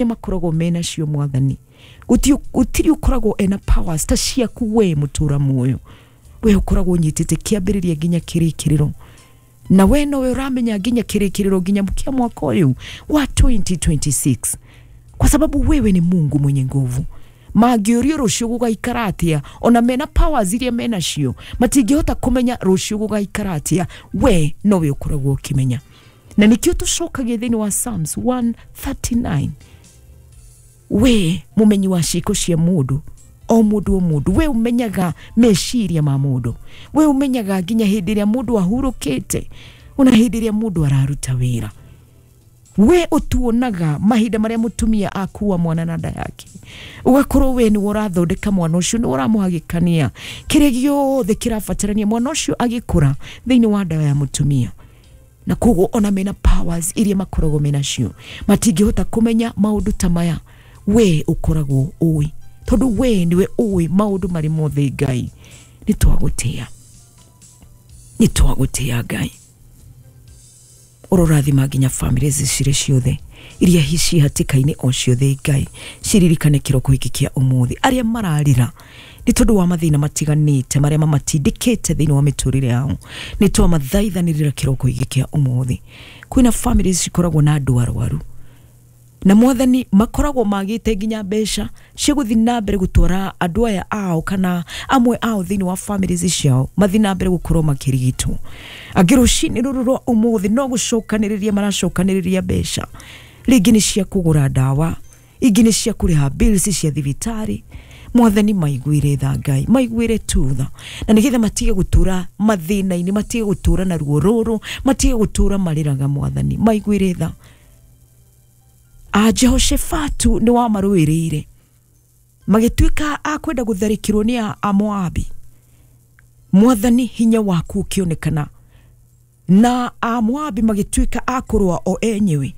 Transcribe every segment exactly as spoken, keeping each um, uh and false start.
Makoragwo mena cio Mwathani, gutiri ukoragwo ena powers ta ciaku we mutura muoyo, we ukoragwo nyitite kiambiriria nginya kirikiriro, na we nowe uramenya nginya kirikiriro nginya kia mwaka uyu wa twenty twenty-six, kwa sababu wewe ni Mungu mwenye nguvu. Mangĩũrio rũciũ gũgaikara atĩa, ona mena powers iria mena cio matingĩhota kũmenya rũciũ gũgaikara atĩa, we nowe ũkoragwo ũkĩmenya. Na nikio tũcokagia thĩinĩ wa Psalms one thirty-nine, we mumenyi wa ciĩko cia mũndũ o mũndũ o mũndũ, we umenyaga meciria ma mũndũ, we umenyaga nginya hĩndĩ ĩrĩa mũndũ ahurũkĩte ona hĩndĩ ĩrĩa mũndũ araruta wĩra. We utuonaga mahinda maria mutumia akua mwana na nda yake, ugakorwo we ni urathondeka mwana ucio, ni uramuhagikania kiria giothe kirabatarania mwana ucio agikura thiini wa nda ya mutumia. Na koguo ona mena powers iria makoragwo mena cio matingihota kumenya maundu ta maya, we ukoragwo ui, tondu we niwe ui maundu mari mothe. Ngai ni twagutia, ni twagutia Ngai. Urorathima nginya family cire ciothe iria hici hatikaini o ciothe Ngai, ciririkane kiroko giki kia umuthi aria mararira ni tondu wa mathina matiganite maria mamatindikite thiini wa miturire yao, ni twamathaithanirira kiroko giki kia umuthi. Kwina families cikoragwo na andu arwaru na Mwathani makoragwo magite nginya mbeca ciguthi na mbere gutwara andu aya ao kana amwe ao thiini wa families ciao mathi na mbere gukorwo makirigitwo. Angĩ rũcinĩ rũrũ rwa ũmũthĩ no gũcokanĩrĩria maracokanĩrĩria mbeca, rĩngĩ nĩ cia kũgũra ndawa, ingĩ nĩ cia kũrĩha bills cia thibitarĩ. Mwathani maiguire tha Ngai, maiguire tu tha, na nĩgetha matige gũtũra mathĩna-inĩ, matige gũtũra na ruo rũrũ, matige gũtũra marĩraga. Mwathani maiguire tha. A Jehoshafatu nĩ wamarũĩrĩire, magĩtuĩka a kwenda gũtharĩkĩrwo nĩ Amoabi. Mwathani hinya waku ũkĩonekana, na Amoabi magĩtuĩka a kũrũa o enyewe,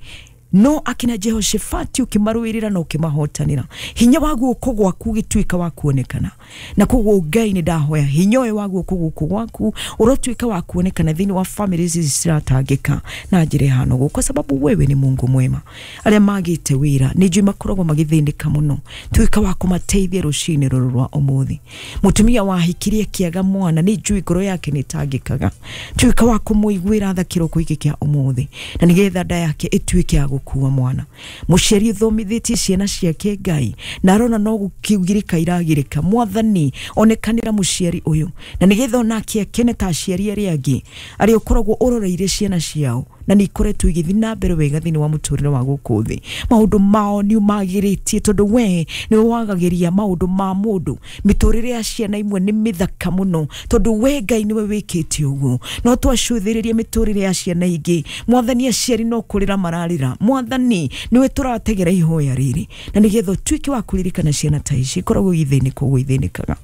no akina Jehoshafati ukimarũĩrĩra na ũkĩmahotanĩra, hinya wa guoko gwaku ũgĩtuĩka wa kuonekana. Na koguo Ngai nĩ ndahoya hinya ũyũ wa guoko gũkũ gwaku ũrotuĩka wa kuonekana thĩinĩ wa families ici ciratangĩka na njĩra ĩhana ũguo, kwa sababu wewe ni Mungu mwema. Arĩa magĩte wĩra nĩ njũĩ makoragwo magĩthĩnĩka mũno, tuĩka wa kũmateithia rũcinĩ rũrũ rwa ũmũthĩ. Mũtumia wahikirie kĩaga mwana nĩ njũĩ ngoro yake nĩ ĩtangĩkaga, tuĩka wa kũmũiguĩra tha kĩroko gĩkĩ kĩa ũmũthĩ, na nĩgetha nda yake ĩtuĩke ya gũkua mwana. Mũciari ũthomithĩtie ciana ciake Ngai na arona no gũkĩgirĩka iragirĩka, Mwathani onekanĩra mũciari ũyũ, na nĩgetha onake akene ta aciari arĩa angĩ arĩa ũkoragwo ũroreire ciana ciao na nĩ ikoretwo igĩthiĩ na mbere wega thĩinĩ wa mũtũrĩre wa gũkũ thĩ. Maũndũ mao nĩ magĩrĩtie, tondũ we nĩwe wagagĩria maũndũ ma mũndũ. Mĩtũrĩre ya ciana imwe nĩ mĩthaka mũno, tondũ we Ngai nĩwe wĩkĩte ũguo. No twacũthĩrĩrie mĩtũrĩre ya ciana ingĩ, Mwathani aciari no kũrĩra mararĩra. Mwathani nĩwe tũrategera ihoya rĩrĩ, na nĩgetha ũtuĩke wa kũririkana ciana ta ici ikoragwo igĩthĩnĩka ũguo ithĩnĩkaga.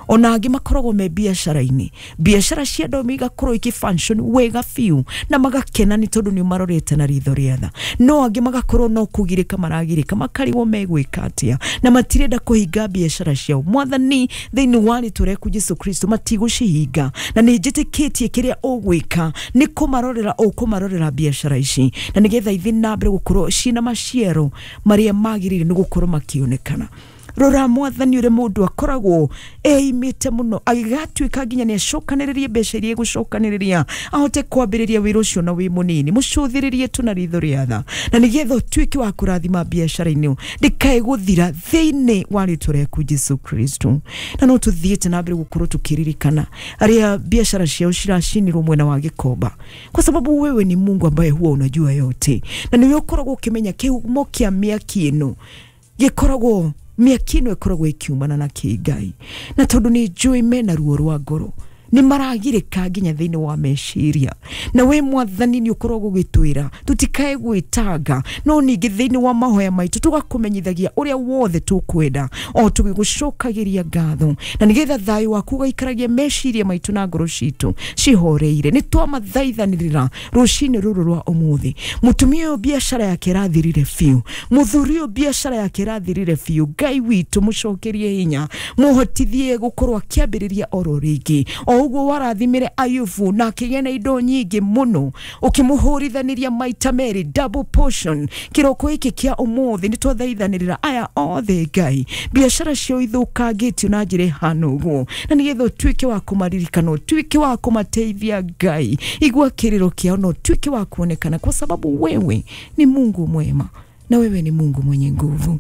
Ona angĩ makoragwo me biacara-inĩ, biacara cia andũ igakorwo ikĩ function wega biũ na magakena nĩ tondu ni marorete na ritho rĩa tha, no angĩ magakorwo no kũgirĩka maragirĩka, makarigwo megwĩka atĩa na matirenda kũhinga biacara ciao. Mwathani thĩinĩ wa rĩtwa rĩaku Jesu Kristo matigũcihinga, na nĩ njĩtĩkĩtie kĩrĩa ũgwĩka nĩ kũmarorera ũkũmarorera biacara ici, na nĩgetha ithiĩ na mbere gũkorwo ciĩna maciaro marĩa magĩrĩire nĩ gũkorwo makĩonekana. Rora Mwathani ũrĩa mũndũ akoragwo eimĩte mũno agĩgatuĩka nginya nĩ acokanĩrĩrie mbeca iria egũcokanĩrĩria ahote kwambĩrĩria wĩra ũcio na wĩ mũnini. Mũcũthĩrĩrie tu na ritho rĩa tha, na nĩgetha ũtuĩke wa kũrathima biacara-inĩ ndĩkae gũthira thĩinĩ wa rĩtwa rĩaku Jesu Kristo. Na no tũthiĩte na mbere gũkorwo tũkĩririkana arĩa biacara ciao ciracinirwo mwena wa Gĩkomba, kwa sababu wewe ni Mungu ambaye huwa unajua yote, na nĩwe ũkoragwo ũkĩmenya kĩhumo kĩa mĩaki ĩno gĩkoragwo mĩaki ĩno ĩkoragwo ĩkiumana na kĩ Ngai. Na tondũ nĩ njũĩ mena ruo rwa ngoro, nĩ maragirĩka nginya thĩinĩ wa meciria, na we Mwathani nĩ ũkoragwo ũgĩtwĩra tũtikae gwĩtanga, no ningĩ thĩinĩ wa mahoya maitũ tũgakũmenyithagia ũrĩa wothe tũkwenda o tũgĩgũcokagĩria ngatho, na nĩgetha thayũ waku ũgaikaragia meciria maitũ na ngoro citũ cihoreire. Nĩ twamathaithanĩrĩra rũcinĩ rũrũ rwa ũmũthĩ. Mũtumia ũyũ biacara yake ĩrathirire biũ, mũthuri ũyũ biacara yake ĩrathirire biũ, Ngai witũ mũcokerie hinya, mũhotithie gũkorwo akĩambĩrĩria oro rĩngĩ o Ũguo warathimire Ayubu na akĩgĩa na indo nyingĩ mũno, ũkĩmũhũrithanĩria maita merĩ, double portion. Kĩroko gĩkĩ kĩa ũmũthĩ nĩ twathaithanĩrĩra aya othe Ngai, biacara ciao ithũkangĩtio na njĩra ĩhana ũguo, na nĩgetha ũtuĩke wa kũmaririkana, ũtuĩke wa kũmateithia Ngai. Igua kĩrĩro kĩao na ũtuĩke wa kuonekana, kwa sababu wewe ni Mungu mwema na wewe ni Mungu mwenye nguvu.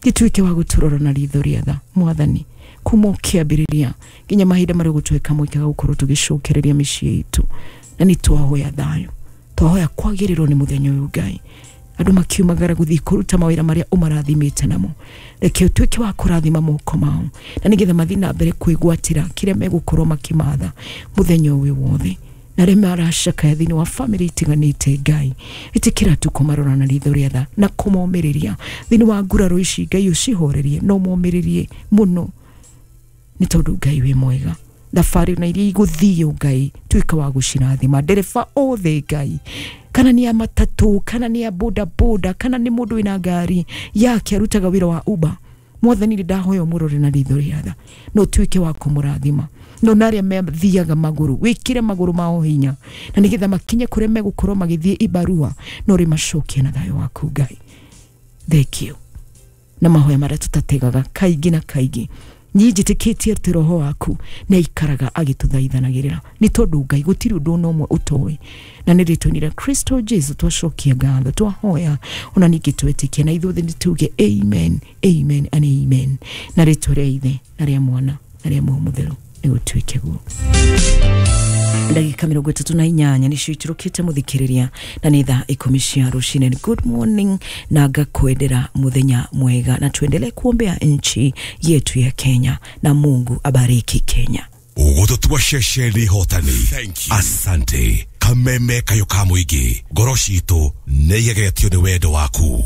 Gĩtuĩke wa gũtũrora na ritho rĩa tha Mwathani, kuma ũkĩambĩrĩria nginya mahinda marĩa ũgũtwĩka mweke wa gũkorwo tũgĩcokereria mĩciĩ itũ. Na nĩ twahoya thayũ, twahoya kwagĩrĩrwo nĩ mũthenya ũyũ Ngai, andũ makiumagara gũthiĩ kũruta mawĩra marĩa ũmarathimĩte namo. Reke ũtuĩke wa kũrathima moko mao, na nĩgetha mathiĩ na mbere kwĩgwatĩra kĩrĩa megũkorwo makĩmatha mũthenya ũyũ wothe. Na arĩa maracakaya thĩinĩ wa bamĩrĩ itiganĩte Ngai, ĩtĩkĩra tu kũmarora na ritho rĩa tha na kũmomĩrĩria thĩinĩ wa nguraro ici Ngai, ũcihorerie na ũmomĩrĩrie mũno, nĩ tondũ Ngai wĩ mwega. Thabarĩ na iria igũthiĩ Ngai, tuĩka wa gũcirathima. Ndereba othe Ngai, kana nĩ a matatũ, kana nĩ a boda boda, kana nĩ mũndũ wĩna ngari yake arutaga wĩra wa Uber, Mwathani nĩ ndahoya ũmũrore na ritho rĩa tha na ũtuĩke wa kũmũrathima. No na arĩa mathiaga magũrũ, wĩkĩre magũrũ mao hinya, na nĩgetha makinye kũrĩa megũkorwo magĩthiĩ ibarua, na ũrĩmacokie na thayũ waku Ngai. Thank you. Na mahoya marĩa tũtategaga kaingĩ na kaingĩ, niĩ njĩtĩkĩtie atĩ roho waku nĩ aikaraga agĩtũthaithanagĩrĩra, nĩ tondũ Ngai gũtirĩ ũndũ ona ũmwe ũtoĩ. Na nĩ rĩtwa-inĩ rĩa Kristo Jesu twacokia ngatho, twahoya ona ningĩ twetĩkia, na ithuothe nĩ tuge amen, amen and amen. Na rĩtwa rĩa Ithe na rĩa Mwana na rĩa Muoyo Mũtheru nĩ gũtuĩke guo. Ndagĩka mĩrongo ĩtatũ na inyanya nĩcio iturũkĩte mũthikĩrĩria, na nĩ thaa ikũmi cia rũcinĩ. Good morning na ngakwendera mũthenya mwega, na tuendelee kuombea nchi yetu ya Kenya, na Mungu abariki Kenya. Ũgũtũtua ceceni hotani. Asante. Kameme kayo ka mũingĩ, ngoro citũ nĩ igegetio nĩ wendo waku.